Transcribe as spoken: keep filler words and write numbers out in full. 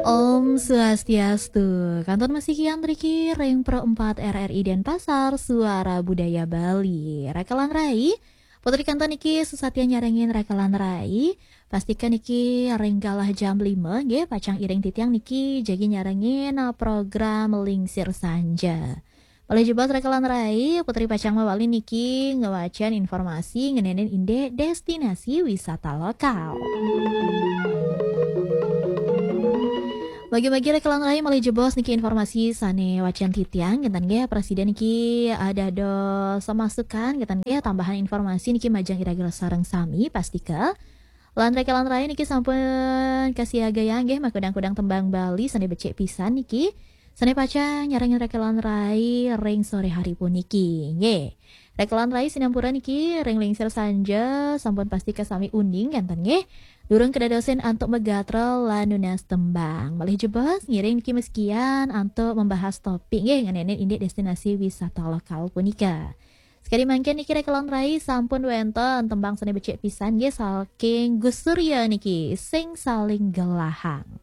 Om Swastiastu. Kantun masih kian riki ring Pro empat R R I Denpasar, Suara Budaya Bali. Rekan rai, putri kantun niki susatian nyarengin rekan rai. Pastikan niki ring galah jam lima nggih, pacang iring titiang niki jagi nyarengin, uh, program Lingsir Sanja. Malih jebos rekan rai, putri pacang mawali niki ngwacan informasi ngenenin indik destinasi wisata lokal. Bagi-bagi rekan rai, malih jebos niki informasi sane wacan titiang, kenten nggih, prasida niki, uh, dados masukan, kenten nggih, tambahan informasi niki majeng iraga sareng sami, pastika. Lan rekan rai niki sampun kasiagayang nggih makudang-kudang tembang Bali sane becik pisan niki. Sane pacang nyarengin rekan rai ring sore hari puniki. Nggih. Rekan rai sinampura niki ring Lingsir Sanja sampun pastika sami uning kenten nggih. Durung kedadosin antuk magatra lan nunas tembang. Malih jebos ngiring niki meskian antuk membahas topik nggih ngenenin indik destinasi wisata lokal punika. Sekadi mangkin niki rekan rai sampun wenten tembang sane becik pisan nggih saking Gus Surya niki, Sing Saling Gelahang.